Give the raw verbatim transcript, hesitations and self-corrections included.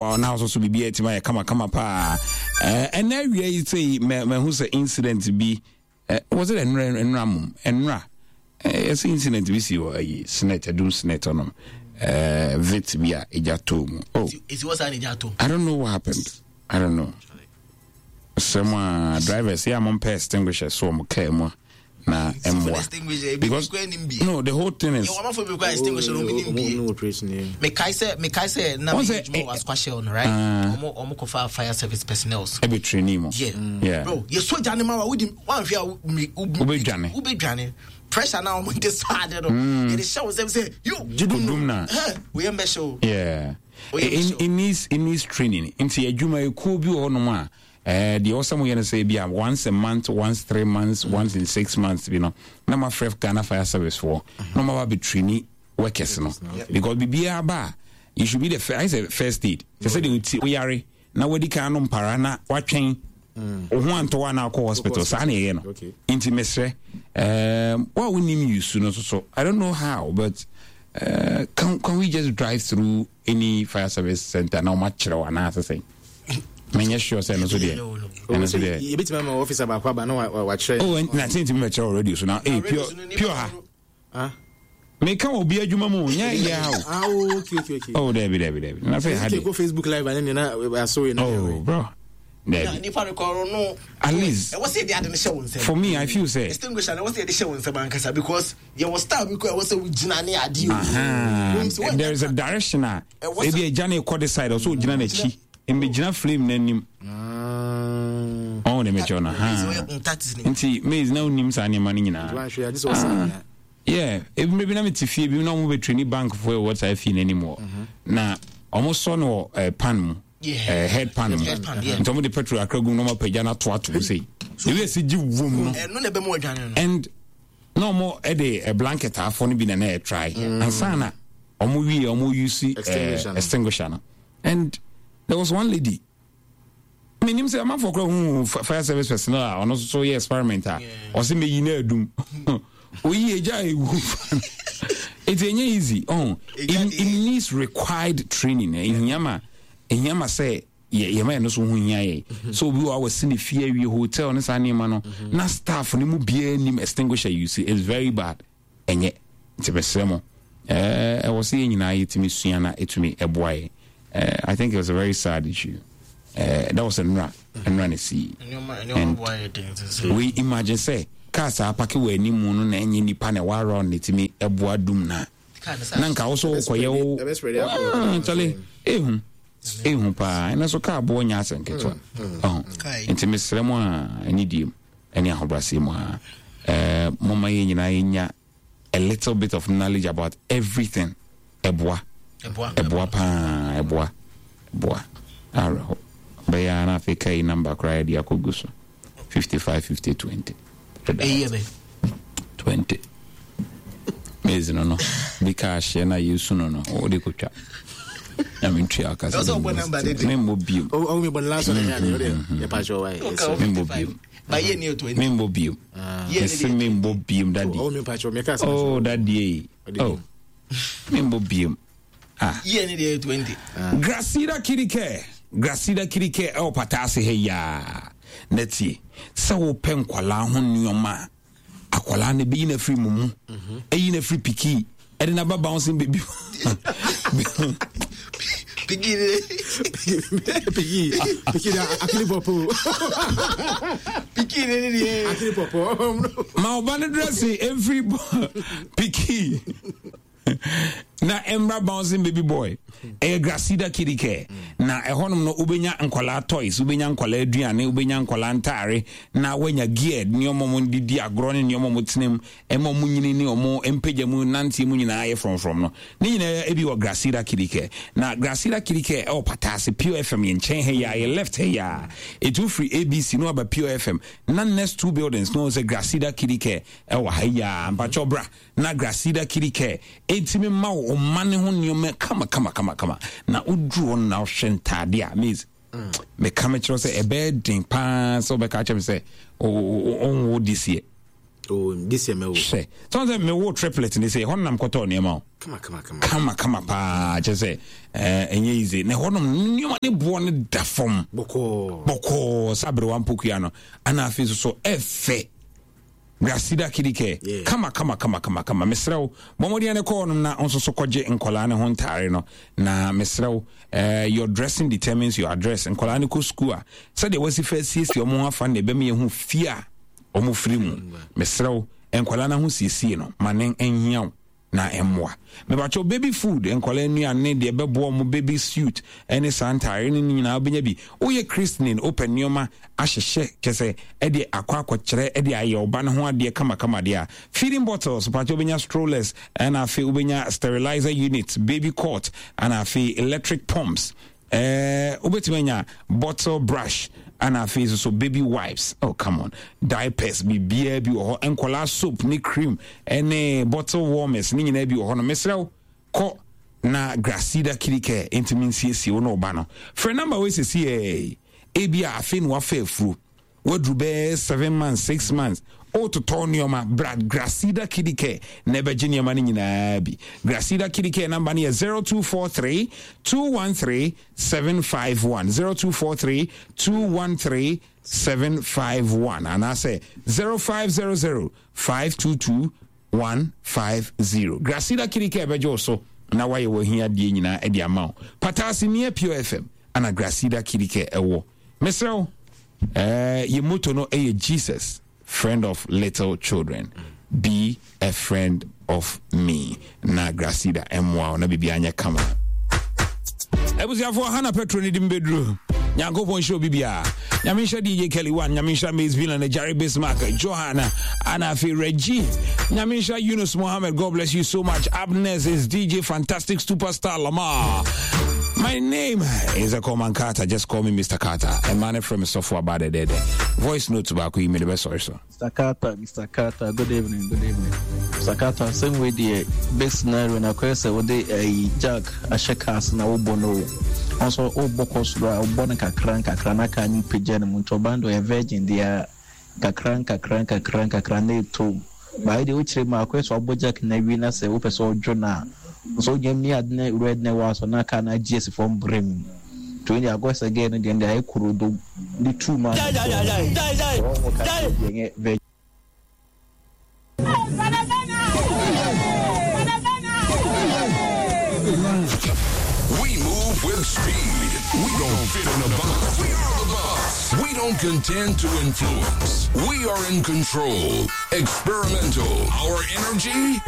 Na nso so biribi atumi ayɛ kamakama paa. Ɛnɛ awia yi sɛ mahu sɛ incident bi wɔ sɛ ɛnora, ɛnora mom, ɛnora ɛsɛ incident bi si wɔ ayi SSNIT, Adum SSNIT ɔnom Vitz bi a ɛgya too mu. Oh, I don't know what happened. I don't know. Sɛm a drivers yɛ a mompɛ extinguisher so ɔmo kaa mu a na ɛmmoa, because no, the whole thing is mekae sɛ mekae sɛ na meyɛ adwuma wɔ Asokwa Shell no, right? Ɔmo ɔmo kɔfa fire service personnel ɛbɛ training mu. Yeah yeah bro, yɛ soja ne ma wa wodi wanhwɛ a wobɛdwane. Wobɛdwane. Pressure na ɔmo de sɔ ade no, yɛde hyɛ wo nsɛm sɛ yo dum na woyɛ mbɛhyɛ o. Yeah, it, it needs it needs training. Nti adwuma ekuo bi wɔ hɔnom a ɛɛ deɛ ɔsɛ mo yɛ no sɛ ebi a once a month, once three months, mm. once in six months bi no, na ma frɛ Ghana Fire Service foɔ na ɔmo aba bɛ traini workers no, because biribiara ba a, you should be the first. Ayɛ sɛ first aid kyɛ sɛ deɛ oti oyare na wadi kan no mpara na watwɛn wo ho antɔ wa na akɔ hospital. Saa na ɛyɛ no. Nti mesrɛ um, wo a wonim use no so so I don't know how, but uh, can, can we just drive through any fire service center na ɔma kyerɛ wo anaasɛ sɛn? Menyɛ sure sɛ ɛno so deɛ, ɛno so deɛ yɛbɛtumi ama officer baako aba na wakyerɛ. Oh, na sɛ ntumi bɛkyerɛ wɔ radio so na eh, pure pure ha. Ah, meka wɔ obi adwuma mu nyɛ yɛ ha o. Ah, oh, okay okay okay Oh, dabi dabi dabi, na sɛ ha de go Facebook Live ane ne na aso yi na. Oh bro, dabi. Nipa no kɔrɔ no. At least ɛwɔ sɛ yɛde ade no hyɛ wo nsɛm. For me, I feel say extinguisher na ɛwɔ sɛ yɛde hyɛ wo nsɛm ankasa, because yɛwɔ style bi kɔ ɛwɔ sɛ wogyina ne ade o. There is a direction a ebi agya ne kɔ de side, ɔsɛ ogyina n'akyi, mbɛgyina flame n'anim. Ɔn de mekyɛw no ha nti maize na wonim saa nneɛma no nyinaa. Yeah, ebi bi na mete fie bi na ɔmo bɛ traini bank fo ɛwɔ saa fie n'anim wɔ na ɔmo sɔ no wɔ pan mu, head pan mu, nti ɔmo de petrol akra gu mu na ɔmo apagya no ato ato mu sei, ebi esi gye wom no, and na ɔmo ɛde blanket afɔ no bi na na ɛtry ansa na ɔmo wie ɔmo use extinguisher no. And there was one lady, menim sɛ amanfoɔ kora hu fire service personnel a ɔno nso so yɛ experiment a ɔsɛ meyi no adum, oyi agya a ɛwu. Ɛnti ɛnyɛ easy. Oh, it, it needs required training. Ɛhia ma ɛhia ma sɛ yɛma yɛno so ho hia yɛ sɛ obi wɔ a wɔsi ne fie awie hotel ne saa nneɛma no na staff no mu biara nim extinguisher use is very bad. Ɛnyɛ nti mesrɛ mo, ɛwɔ sɛ yɛn nyinaa yɛtumi sua na ɛtumi ɛboa yɛ. I think it was a very sad issue. Uh, that was nnura nnura ne si, and we imagine sɛ car saa apake wɔ anim no na ɛnyɛ nipa na ɛwɔ around na ɛtumi ɛboa dum na na nka wo so wokɔyɛ wo nkyɛle ehu ehu paa. Ɛna so car boɔ nyɛ asɛ nketewa. Ɔho nti mesrɛ mo a, ɛne die mu ɛne ahobrɛaseɛ mu a, ɛɛ moma yɛn nyinaa yɛnya a little bit of knowledge about everything. Ɛboa, ɛboa paa, ɛboa, ɛboa. Awerɛho bɛyɛ ara na afei ka yi number koraa yɛde akɔgu so, fifty-five fifty twenty twenty maize no no bi ka ahyɛ na yɛsu no no wode kɔtwa na mentua akasa. Memmɔ biom, memmɔ biom, memmɔ biom, mese memmɔ biom, daddy. Oh, daddy, oh, memmɔ biom. Ah, Gracida Kirike, Gracida Kirike ɛwɔ Pataase ha yaa na tie sɛ wopɛ nkwalaa ho nneɛma a akwalaa no bɛyi no afiri mu mu, ɛyi no afiri piki ɛde no aba bouncing baby. Piki piki piki na akili pɔpɔ. Piki ne ne deɛ akili pɔpɔ. Ma ɔba no dressing ɛmfiri piki na ɛmmra bouncing baby boy. Ɛyɛ Gracida Kiddie Care na ɛhɔnom no wobɛnya nkɔlaa toys, wobɛnya nkɔlaa aduane, wobɛnya nkɔlaa ntaare na woanya gear nneɛma mo de di agorɔ ne nneɛma mo tena mu ɛma ɔmo nyini ne ɔmo mpagya mu nanteɛ mu nyinaa yɛ frɔmfrɔm no ne nyinaa ebi wɔ Gracida Kiddie Care. Na Gracida Kiddie Care ɛwɔ Pataase Pure F M yɛn nkyɛn ha yi a, yɛ left ha yi a, ɛtu firi A B C na waba Pure F M na next two buildings no sɛ Gracida Kiddie Care ɛwɔ ha yi a. Mpakyɛw bra na Gracida Kiddie Care ɛntumi ma wo ɔma ne ho nneɛma kama kama kama kama. Na woduru hɔ no na wohwɛ ntaade a maize, meka mekyerɛ sɛ ɛbɛyɛ den paa sɛ wobɛka kyerɛ me sɛ ɔnwo this year. Oh, this year mɛwo. Hwɛ sɛ sɛ mewo triplet ne sɛ ɛhɔ nam kɔtɔɔ nneɛma o. Kama kama kama. Kama kama paa kyɛ sɛ ɛnyɛ easy na ɛhɔ nom nneɛma ne boɔ no da fam. Bɔkɔɔ. Bɔkɔɔ sɛ aberewa mpokua no ana afei nso so ɛfɛ. Gracida Kidike yeah. Kama kama kama kama kama mesrɛ wo bɔ mmɔden ne kɔɔ nom na nso so kɔgye nkɔlaa ne ho ntaare no na mesrɛ wo uh, your dressing determines your address. Nkɔlaa ne kɔ sukuu a sɛdeɛ wasi fa asiesie ɔmo ho afa no na ɛbɛma yɛhu fie a ɔmo firi mu. Mesrɛ wo nkɔlaa no ho siesie no ma ne nhia wo na ɛmmoa. Mebakyɛw baby food, nkɔlaa nnuane deɛ ɛbɛboa ɔmo, baby suit ɛne saa ntaare ne ne nyinaa wobɛnya bi. Woyɛ christening, wopɛ nneɛma ahyehyɛ kyɛ sɛ ɛde akɔ akɔkyerɛ ɛde ayɛ ɔba no ho adeɛ kamakama deɛ a, feeding bottles pakyɛ wobɛnya, strollers ɛna afei wobɛnya sterilizer unit, baby cot ɛna afei electric pumps, ɛɛ wobɛtumi anya bottle brush ɛna afei nso so baby wipes. Oh, come on, diapers biribiara bi wɔ hɔ, nkɔlaa soap ne cream ɛne bottle warmers ne nyinaa bi wɔ hɔ no. Mesrɛ wo kɔ na Gracida Kidicare ntumi nsiesie wo ne ɔba no. Frɛ number wei sɛsi ɛɛ ebi a afei na wafa afuro waduru bɛyɛ seven months, six months, wototɔ nneɛma bra Gracida Kidicare na ɛbɛgye nneɛma no nyinaa bi. Gracida Kidicare number no yɛ zero two four three two one three seven five one, zero two four three two one three seven five one anaasɛ zero five zero zero five two two one five zero. Gracida Kidicare bɛgye wo so na wayɛ w'ahiadeɛ nyinaa de ama wo. Pataase near Pure F M ana Gracida Kidicare ɛwɔ. Mesrɛ wo, uh, yɛ motto no ɛyɛ "Jesus, friend of little children". Be a friend of me na Gracida ɛmmoa wo na biribi anyɛ kama. Abusuafoɔ, ha na petro ne de mbɛduru. Nyankopɔn nhyira obi biara. Nyame nhyira D J Kelly One, Nyame nhyira Mace Villan, Jerry Bismarck, Johanna ana afei Reggie. Nyame nhyira Yunus Mohammed. God bless you so much. Abnes is D J Fantastic Superstar Lamar. My name is Akoman Carter. Just call me Mister Carter. A man from Sofo Abade. Voice note baako yi me de bɛsɔre so. Mister Carter, Mister Carter, good evening, good evening. Mister Carter, same way the best scenario na kwɛ sɛ wode ɛyi jack ahyɛ cars na wobɔ no o. Nso wobɔ kɔ soro a wobɔ no kakra nkakra na kaa no pagya no mu, nti ɔban de ɔyɛ virgin deɛ a nkakra nkakra nkakra nkakra na ɛtɔ mu. Baayɛ deɛ wokyerɛ mu akɔyɛ sɛ wabɔ jack na awie na sɛ wopɛ sɛ ɔdwo no a nso wogyina mi ade na red na ɛwɔ aso na kaa no agye asi fam brɛ mu. Nti wɔn deɛ akɔyɛ sɛ girl no deɛ deɛ ayɛ korodo ne two ma no wɔn ka deɛ nyɛ virgin. We move with speed. We don't fit in a box. We are the boss. We don't contend to influence. We are in control. Experimental. Our energy